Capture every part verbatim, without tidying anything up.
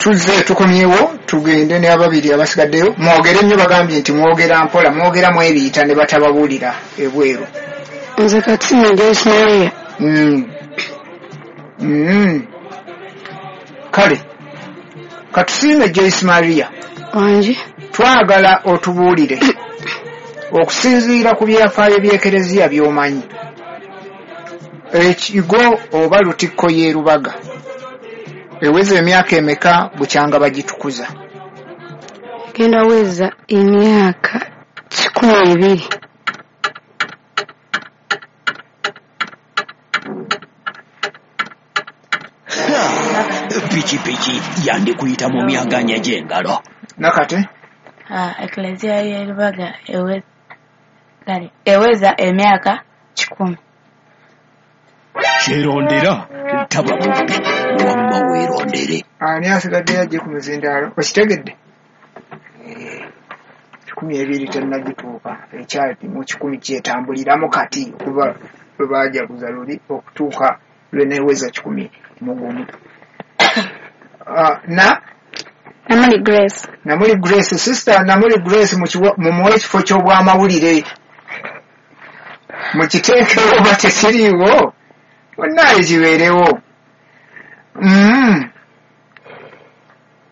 Tuzze tukomyewo, tugende n'ababiri abasigaddeyo. Mwogere nnyo, bagambye nti mwogera mpola, mwogera mwebiyita ne batababuulira ebweru. Nze Katina Joyce Maria. Mm. Mm. Kale katusiime Joyce Maria. Wangi. Twagala otubuulire okusinziira ku byafaayo by'Ekereziya by'omanyi, ekigo oba Lutikko y'e Lubaga eweza emyaka emeka bukyanga bagitukuza? Genda weza emyaka kikumi ebiri. Pikipiki yandikuyita mu myaganya gy'engalo. Nakate? Ah, Eklezia y'e Lubaga eweza emyaka kikumi. Kyerondera taba mubbi, wamma weerondere. Ani asigadde ajje ku muzindaalo? Okitegedde? Kikumi ebiri tennagituuka, ekyali mu kikumi kyetambuliramu kati okuva lwe baajaguza luli okutuuka lwe neeweza kikumi mu gumu. Na Namuli Grace. Namuli Grace, sister Namuli Grace, mumuwe ekifo ky'obwamawulire, mukiteekewo oba tekiriiwo, bonnaayo kibeerewo. Mm.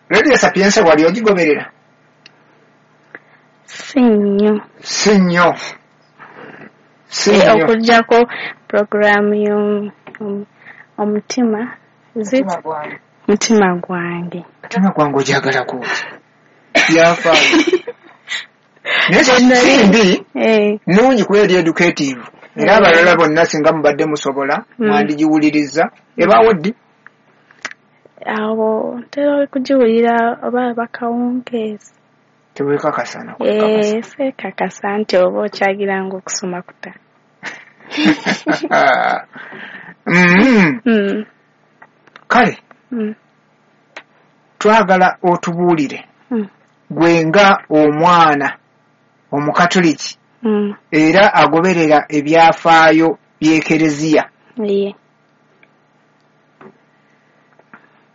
Radio Sapienza wali ogigoberera? Si nnyo. Si nnyo. Si nnyo. Okuggyako puroguraamu y'omutima. Mutima gwange. Mutima gwange ogyagalako byafaayo. Naye si mbi, nnungi kuba eri educative. Era abalala bonna singa mubadde musobola mwandigiwuliriza. Ebaawo ddi? Awo ntera okugiwulira oba bakawungeezi. Tewekakasa na kwekakasa? Eh, seekakasa nti oba okyagiranga okusoma kuta. Mm. Kale twagala otubuulire gwe nga omwana omukatoliki era agoberera ebyafaayo by'Ekereziya,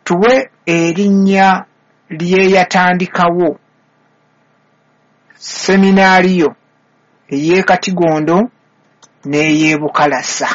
tuwe erinnya ly'eyatandikawo seminaariyo ey'e Katigondo n'ey'e Bukalasa.